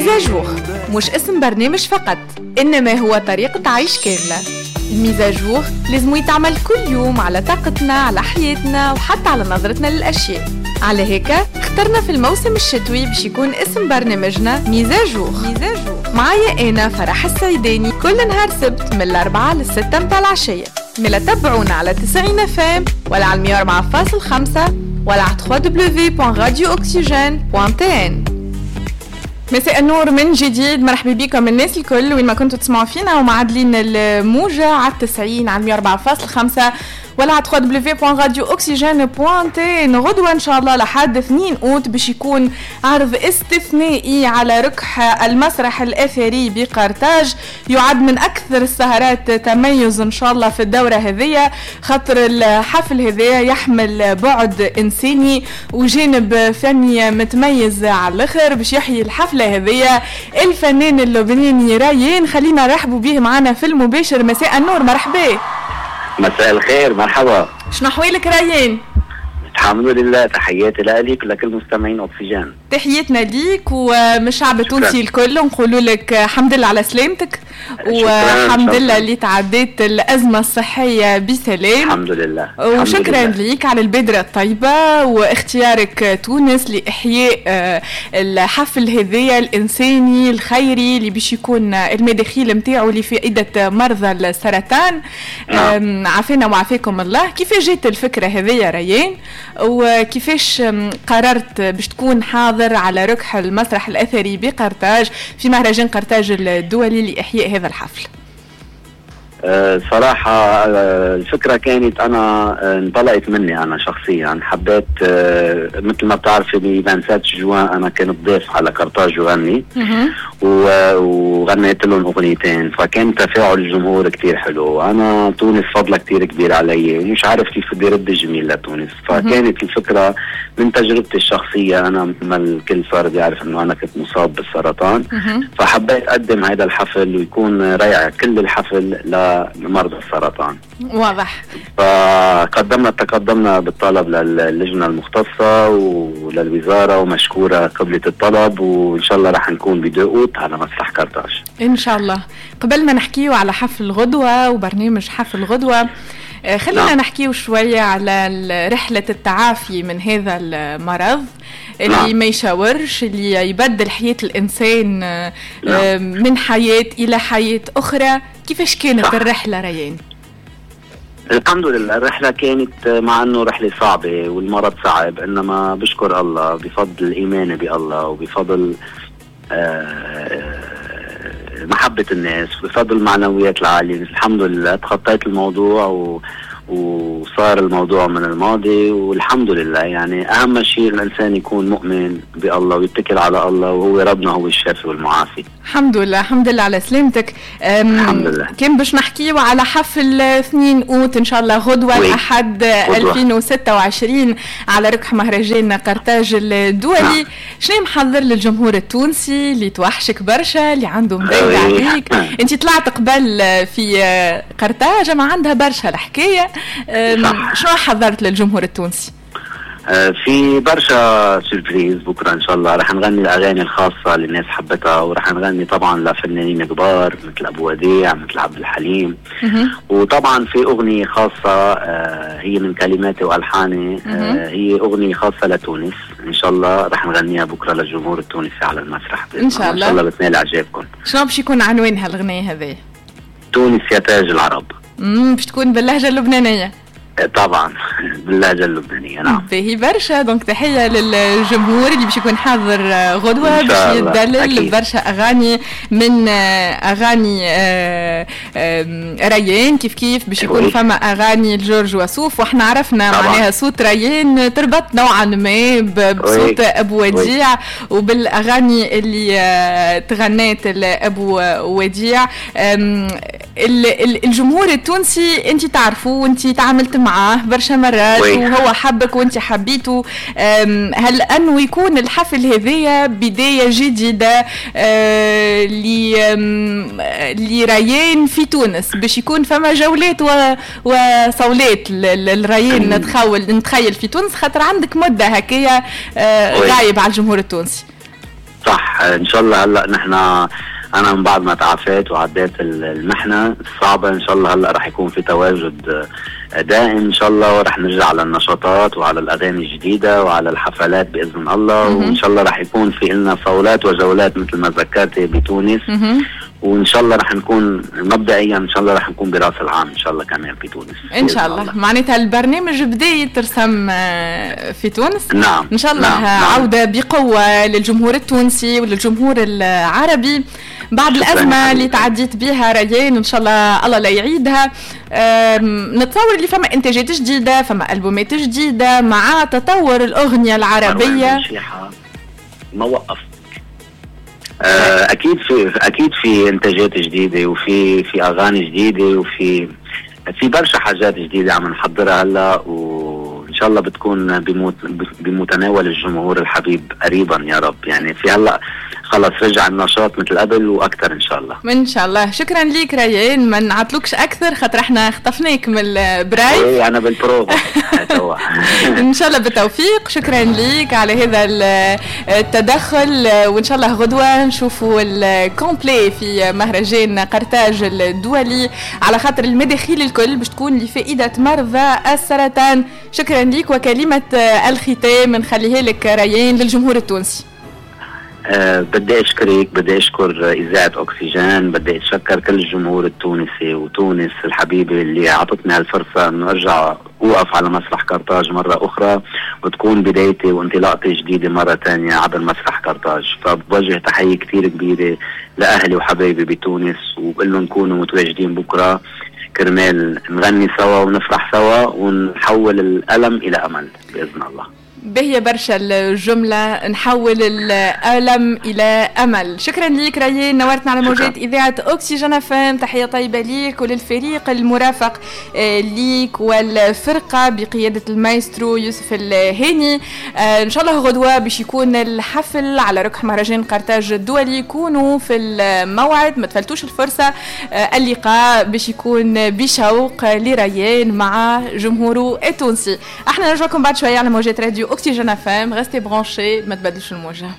mise à jour مش اسم برنامج فقط، إنما هو طريقة عيش كاملة. ال mise à jour لازم يتعمل كل يوم على طاقتنا، على حياتنا، وحتى على نظرتنا للأشياء. على هيك اخترنا في الموسم الشتوي باش يكون اسم برنامجنا mise à jour. معايا أنا فرح السيداني كل نهار سبت من 4 لل6 متاع العشية. ملا تبعونا على 90 FM ولا على 104.5 ولا على www.radiooxygene.tn. مساء النور من جديد، مرحبا بكم الناس الكل وين ما كنتوا تسمعوا فينا ومعدلين الموجة على 90 على 104.5 ولا على www.radiooxygene.tn. غدوة إن شاء الله لحد 2 أوت باش يكون عرض استثنائي على ركح المسرح الأثري بقرطاج، يعد من أكثر السهرات تميز إن شاء الله في الدورة هذية، خاطر الحفل هذا يحمل بعد إنساني وجانب فني متميز على الآخر. باش يحيي الحفلة هذية الفنان اللبناني ريان، خلينا نرحبوا به معنا في المباشر. مساء النور، مرحبا. مساء الخير، مرحبا. شنو احوالك ريان؟ الحمد لله، تحياتي لك ولكل مستمعين اكسجين. تحياتنا ليك ومن الشعب التونسي الكل، نقولوا لك الحمد لله على سلامتك، والحمد لله اللي تعديت الأزمة الصحية بسلام. الحمد لله. وشكرا ليك على البادرة الطيبة واختيارك تونس لإحياء الحفل هذايا الإنساني الخيري اللي باش يكون المداخيل نتاعو لفائدة مرضى السرطان. نعم. عافانا وعافاكم الله. كيفاش جات الفكرة هذيا ريان، وكيفاش قررت باش تكون حاضر على ركح المسرح الأثري بقرطاج في مهرجان قرطاج الدولي لإحياء هذا الحفل؟ صراحة الفكرة كانت أنا انطلقت مني أنا شخصيا، حبيت مثل ما بتعرفي ب 27 جوان أنا كنت ضيف على قرطاج وغني وغنيت لهم أغنيتين، فكان تفاعل الجمهور كتير حلو. أنا تونس فضلها كتير كبير علي ومش عارف كيف بدي رد الجميل لتونس، فكانت الفكرة من تجربتي الشخصية. أنا مثل ما الكل صار بيعرف إنه أنا كنت مصاب بالسرطان، فحبيت أقدم هذا الحفل ويكون رائع كل الحفل لمرضى السرطان. واضح. فقدمنا بالطلب للجنة المختصة وللوزارة، ومشكورة قبلت الطلب، وإن شاء الله رح نكون بدقوت على مسرح قرطاج إن شاء الله. قبل ما نحكيو على حفل غدوة وبرنامج حفل غدوة، خلينا نعم. نحكيو شوية على رحلة التعافي من هذا المرض اللي نعم. ما يشاورش، اللي يبدل حياة الإنسان نعم. من حياة إلى حياة أخرى. كيفاش كانت الرحلة ريان؟ الحمد لله الرحلة كانت مع أنه رحلة صعبة والمرض صعب، إنما بشكر الله بفضل إيماني بالله وبفضل محبة الناس وبفضل المعنويات العالية، الحمد لله تخطيت الموضوع وصار الموضوع من الماضي والحمد لله. يعني أهم شيء الإنسان يكون مؤمن بالله ويتكل على الله، وهو ربنا هو الشافي والمعافي. الحمد لله، الحمد لله على سلامتك. الحمد لله. كان باش نحكيو على حفل 2 أوت إن شاء الله غدوة الأحد 2026 على ركح مهرجان قرطاج الدولي. نعم. شنو محضر للجمهور التونسي اللي توحشك برشا، اللي عنده مضايق عليك؟ أنت طلعت قبل في قرطاج ما عندها برشا الحكاية، شنو حضرت للجمهور التونسي؟ في برشا surprises بكره ان شاء الله. رح نغني الاغاني الخاصة اللي الناس حبتها، ورح نغني طبعا لفنانين كبار مثل ابو وديع، مثل عبد الحليم، وطبعا في اغنية خاصة هي من كلماتي والحاني، هي اغنية خاصة لتونس ان شاء الله رح نغنيها بكره للجمهور التونسي على المسرح ان شاء الله. ان شاء الله بتنال اعجابكم. شنو باش يكون عنوانها الاغنية هذه؟ تونس يا تاج العرب. باش تكون باللهجة اللبنانية؟ طبعا باللهجة اللبنانية. نعم. باهي برشا. donc تحية للجمهور اللي باش يكون حاضر غدوة باش يدلل برشا أغاني من أغاني ريان، كيف كيف باش يكون فما أغاني لجورج وسوف، وإحنا عرفنا معناها صوت ريان تربط نوعا ما بصوت أبو وديع وبالأغاني اللي تغنات أبو وديع. الجمهور التونسي انت تعرفه وانت تعاملت معاه برشا مرات وهو حبك وانت حبيته، هل انه يكون الحفل هذايا بداية جديدة لريان في تونس باش يكون فما جولات وصولات للريان نتخيل في تونس، خاطر عندك مدة هكايا غايب على الجمهور التونسي؟ صح، ان شاء الله. هلا نحن انا من بعد ما تعافيت وعديت المحنة الصعبه، ان شاء الله هلا رح يكون في تواجد دائم ان شاء الله، ورح نرجع على النشاطات وعلى الاغاني الجديدة وعلى الحفلات باذن الله. وان شاء الله رح يكون في لنا صولات وجولات مثل ما ذكرتي بتونس، وان شاء الله رح نكون مبدئيا ان شاء الله رح نكون براس العام ان شاء الله كمان في تونس ان شاء الله. معناتها البرنامج بدا يترسم في تونس. نعم، ان شاء الله. نعم. عوده بقوة للجمهور التونسي وللجمهور العربي بعد الازمة اللي تعديت بها ريان، ان شاء الله الله لا يعيدها. نتصور اللي فما انتاجات جديده، فما البومات جديدة مع تطور الاغنية العربيه. ما وقف. اكيد في انتاجات جديدة وفي اغاني جديدة وفي برشا حاجات جديدة عم نحضرها هلا، وان شاء الله بتكون بمتناول الجمهور الحبيب قريبا يا رب. يعني في هلا خلص رجع النشاط مثل قبل واكثر ان شاء الله. ان شاء الله. شكرا ليك ريان، ما نعطلوكش اكثر خاطر احنا خطفناك من ال privé. ايه انا بالبروفا. ان شاء الله بالتوفيق. شكرا ليك على هذا التدخل، وان شاء الله غدوه نشوفوا ال complet في مهرجان قرطاج الدولي، على خاطر المداخيل الكل باش تكون لفائدة مرضى السرطان. شكرا ليك، وكلمه الختام نخليها لك ريان للجمهور التونسي. بدي اشكرك، بدي اشكر اذاعة اكسجين، بدي اتشكر كل الجمهور التونسي وتونس الحبيبة اللي اعطتني هالفرصة انه ارجع اوقف على مسرح قرطاج مرة اخرى، وتكون بدايتي وانطلاقتي جديدة مرة ثانية عبر مسرح قرطاج. فبوجه تحية كثير كبيرة لاهلي وحبايبي بتونس، وبقول لهم كونوا متواجدين بكره كرمال نغني سوا ونفرح سوا ونحول الالم الى امل باذن الله. بهي برشا الجملة، نحول الألم إلى أمل. شكرا ليك ريان، نورتنا على موجات إذاعة أكسجين FM. تحية طيبة ليك وللفريق المرافق ليك والفرقة بقيادة المايسترو يوسف الهاني. إن شاء الله غدوة باش يكون الحفل على ركح مهرجان قرطاج الدولي، كونوا في الموعد، ما تفلتوش الفرصة. اللقاء باش يكون بشوق لريان مع جمهوره التونسي. احنا نرجعكم بعد شوية على موجات راديو أكسجين FM. Restez branchés، ما تبدلوش الموجة.